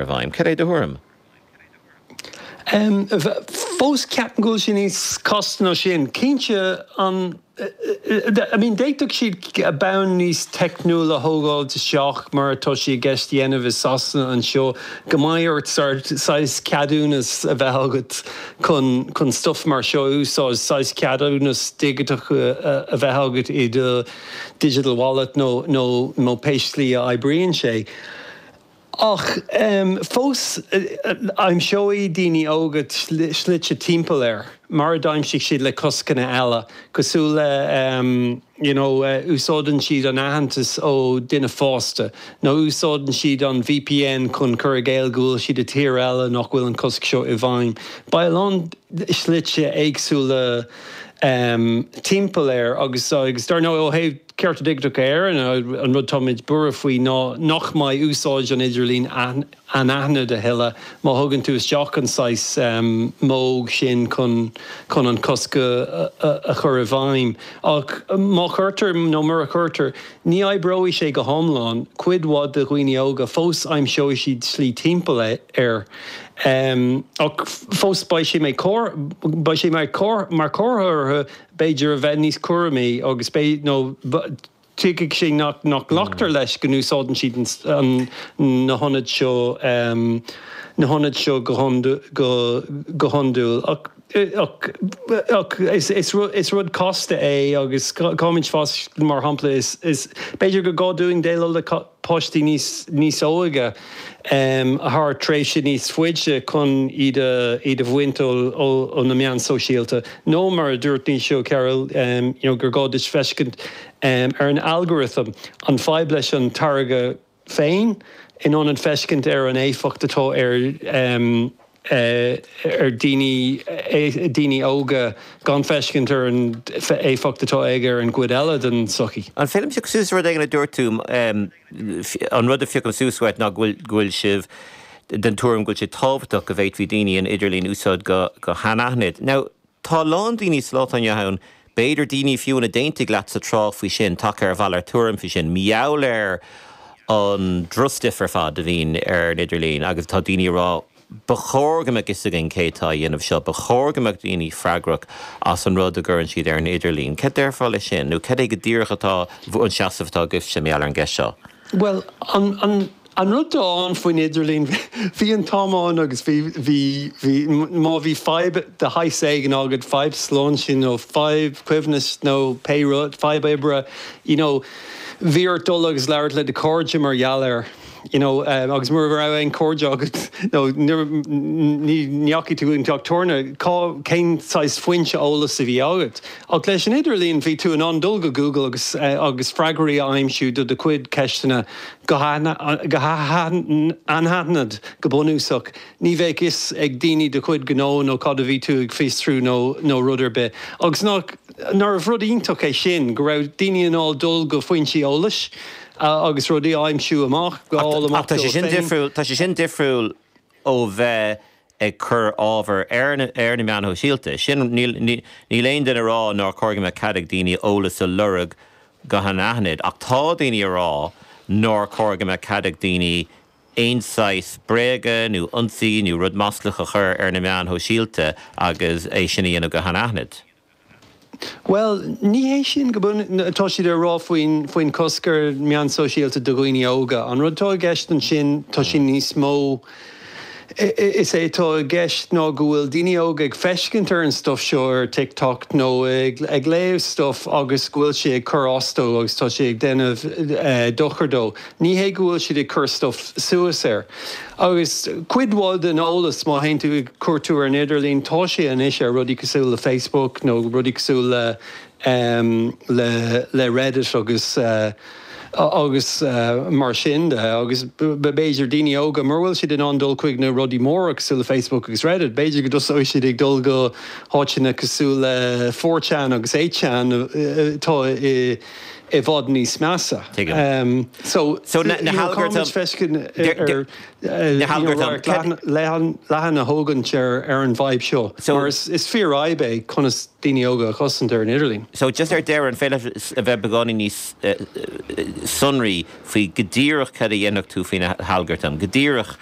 I bhfeidhm. Cad é do thuairim? Fós ceapaim go bhfuil sé níos casta ná sin. Cinnte, an, I mean d'fhéadfadh siad bonn níos teicniúla a thógáilt isteach mar atá sé i gceist a dhéanamh i Sasana anseo, go mbeidh ort saghas ceadúnas a bheith agat chun chun stuff mar seo a úsáid, saghas ceadúnas digiteach a bheith agat i do digital wallet nó nó nó pé slí a oibríonn sé. Ach fós, aimseoidh daoine óga slite timpeall air, mar a d'aimsigh siad le coscanna eile, cosúil le you know úsáideann siad an aitheantas ó duine fásta, nó úsáideann siad an VPN chun cur i gcéill go bhfuil siad i tír eile nach bhfuil an cosc seo i bhfeidhm. Beidh a lán slite éagsúla timpeall air agus dar ndóigh ó thaobh Cearta Digiteacha Éireann, an rud táimid buartha faoi ná nach mbeidh úsáid an idirlín anaithnid a thuilleadh má thugann tú isteach an saghas modh sin chun chun an cosc a chur i bhfeidhm. Ach má chuirtear nó mura chuirtear, ní oibreoidh sé go hiomlán. Cuid mhaith de dhaoine óga fós aimseoidh siad slí timpeall air. Ach fós beidh sé beidh sé mar chomhartha orthu b'fhéidir a bheith níos cúramaí agus beidh, nó tuigfidh sé nach nglactar leis go n-úsáideann siad an, na hionaid seo, na hionaid seo go hiondúil. Ach, ach, ach is, is rud, is rud casta é agus caithfimid fás, mar shampla, is, is, b'fhéidir gur gá dúinn déileáil le páistí níos, níos óige thar tréimhse níos faide chun iad a, iad a bhaint ó, ó, ó na meáin sóisialta. Nó mar a dúirt Naoise Ó Cearúil, you know, gur gá duit feiscint ar an algorithm, an fadhb leis an táirge féin, in ionad feiscint ar an éifeacht atá ar, ar daoine, daoine óga gan feiscint ar an éifeacht atá aige ar an gcuid eile den tsochaí. An féidir liom piocadh suas rud éigin a dúirt tú? An rud a phiocaim suas uait ná go bhfuil, go bhfuil sibh den tuairim go bhfuil sé tábhachtach go bhféadfaí daoine an idirlíon a úsáid go, go hanaithnid. Now, Tá a lán daoine sa lá atá inniu ann, b'fhéidir daoine fiú a d'aontaigh leatsa tráth faoi sin, tagtha ar mhalairt tuairim faoi sin, mar gheall ar an drochstuif ar fad a bhíonn ar an idirlíon agus tá daoine ag rá ba chóir go mbeadh fhios againn cé atá a dhéanamh seo, ba chóir go mbeadh daoine freagrach as an rud a gcuireann siad ar an idirlíon. Cad déarfá leis sin? Nó cad é go díreach atá an seasamh atá agaibhse mar gheall ar an gceist seo? Bhuel, an, an, An rud atá ann faoin idirlíon, bhí an t-am ann agus bhí, bhí, bhí, má bhí fadhb de shaghas éigin agat, fadhb sláinte nó fadhb choibhneas nó pé rud, fadhb oibre, you know, bhí ort dul agus labhairt le do chairde mar gheall air, you know, agus mura raibh aon chairde agat nó ní, ní ndeachaigh tú an teach tábhairne, cá, cén saghas foinse eolais a bhí agat? Ach leis an idirlíon bhí tú in ann dul go Google agus, agus freagraí a aimsiú do do chuid ceisteanna. Go hanaithnid, go bunúsach, ní bheadh fhios ag daoine do chuid gnó nó cad a bhí tú ag fiosrú nó nó rud ar bith. Agus nach, nárbh rud iontach é sin, go raibh daoine in ann dul go foinsí eolais agus rudaí a aimsiú amach, a fháil amach dóibh féin. Ach tá sé sin difriúil, tá sé sin difriúil ó bheith ag cur ábhar ar na meáin shóisialta. Sin, níl, níl aon duine ag rá nár chóir go mbeadh cead ag daoine eolas a lorg go hanaithnid, ach tá daoine ag rá nár chóir go mbeadh cead ag daoine aon saghas bréaga nó ionsaí nó rud maslach a chur ar na meáin shóisialta agus é sin a dhéanamh go hanaithnid. Bhuel, ní hé sin go bunúsach atá siad ag rá faoin faoin cosc ar meáin sóisialta do dhaoine óga. An rud atá i gceist ansin, tá sé níos mó, is é atá i gceist ná go bhfuil daoine óga ag feiscint ar an stuif seo ar TikTok nó ag ag léamh stuif agus go bhfuil sé ag cur as dó agus tá sé ag déanamh dochar dó. Ní hé go bhfuil siad ag cur stuif suas air. Agus cuid mhaith den eolas, má théann tú ag cuartú ar an idirlíon, tá sé anois ar rudaí cosúil le Facebook nó rudaí cosúil le le le Reddit agus agus mar sin de. Agus b'fhéidir daoine óga, mura bhfuil siad in ann dul chuig na rudaí móra cosúil le Facebook agus Reddit, b'fhéidir go dtosóidh siad ag dul go háiteanna cosúil le 4chan agus 8chan atá i i bhfad níos measa. Tuigim. So, So na you know, halgartaim, caithfimid feiscint ar, na you know, halgartaim, radharc leathan, leathan, leathan a thógaint ar, ar an bhfadhb seo. So, Mar is, is fíorfhadhb é conas daoine óga a chosaint ar an idirlíon. So, just ar deireadh, an féidir leat a bheith beagáinín níos sonraí faoi go díreach cad a dhéanfadh tú faoi na halgartaim? Go díreach.